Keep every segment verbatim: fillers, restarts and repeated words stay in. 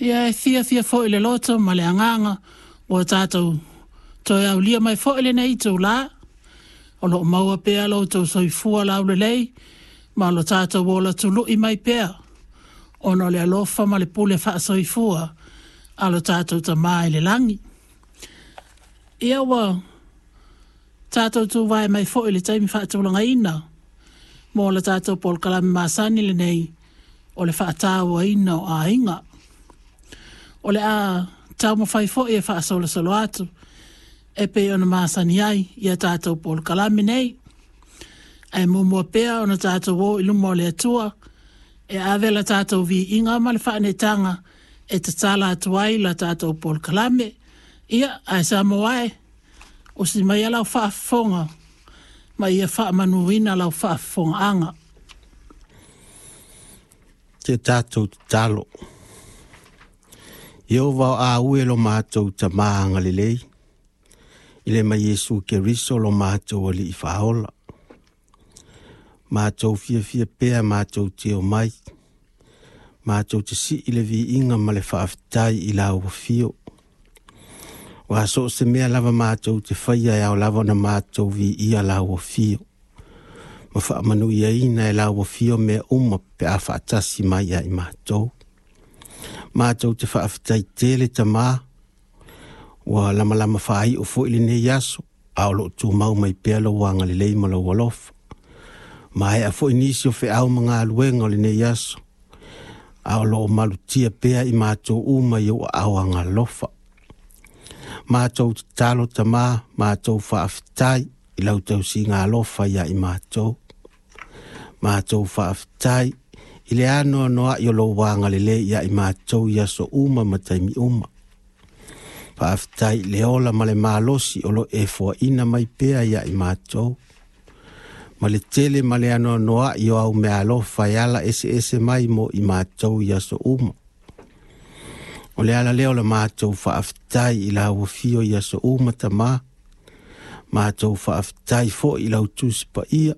Ia e fiafia foi le loto ma le agaga ua tatou toe aulia mai foi lenei itulā, o loo maua pea lo outou soifua laulelei ma lo tatou ola tului mai pea, ona o le alofa ma le pule faasoifua a lo tatou Tamā i le lagi. Ia ua tatou tuvae mai foi i le taimi faatulagaina mo le tatou polokalame masani lenei o le faatauaina o aiga. O le a taumafai foi e faasolosolo atu e pei ona masani ai ia tatou polokalame nei. Ae muamua pea ona tatou o i luma o le Atua e ave la tatou viiga ma le faaneetaga e tatala atu ai la tatou polokalame. Ia, ae Samoa e, usi maia lau faafofoga ma ia faamanuina lau faafofogaaga. Te tatou tatalo. Ieova o aue lo matou Tamā agalelei, i le ma Iesu Keriso lo matou Alii Faaola. Matou fiafia pea matou te omai, matou te sii le viiga ma le faafetai i lau afio. Ua so o se mea lava matou te faia e ao lava ona matou viia lau afio, ma faamanuiaina e lau afio mea uma pe a faatasi mai ia i matou. Matou te faafetai tele Tamā, ua lamalama faaiu foi lenei aso, a o loo tumau mai pea lou agalelei ma lou alofa. Maea foi nisi o feau ma galuega o lenei aso, a o loo malutia pea i matou uma i ou aao agalofa. Matou tatalo Tamā, matou faafetai i lau tausiga alofa ia i matou. Matou faafetai i le anoanoai o lou agalelei ia i matou i aso uma ma taimi uma. Faafetai i le ola ma le malosi o lo e foaina mai pea ia i matou. Ma le tele ma le anoanoai o au meaalofa e ala eseese mai mo i matou i aso uma. O le ala lea o le matou faafetai i lau afio i aso uma Tamā. Matou faafetai foi i lau Tusi Paia,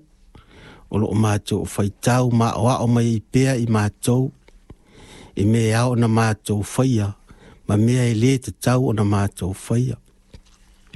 o loo matou faitau ma aoao mai ai pea i matou, i mea e ao ona matou faia, ma mea e lē tatau ona matou faia.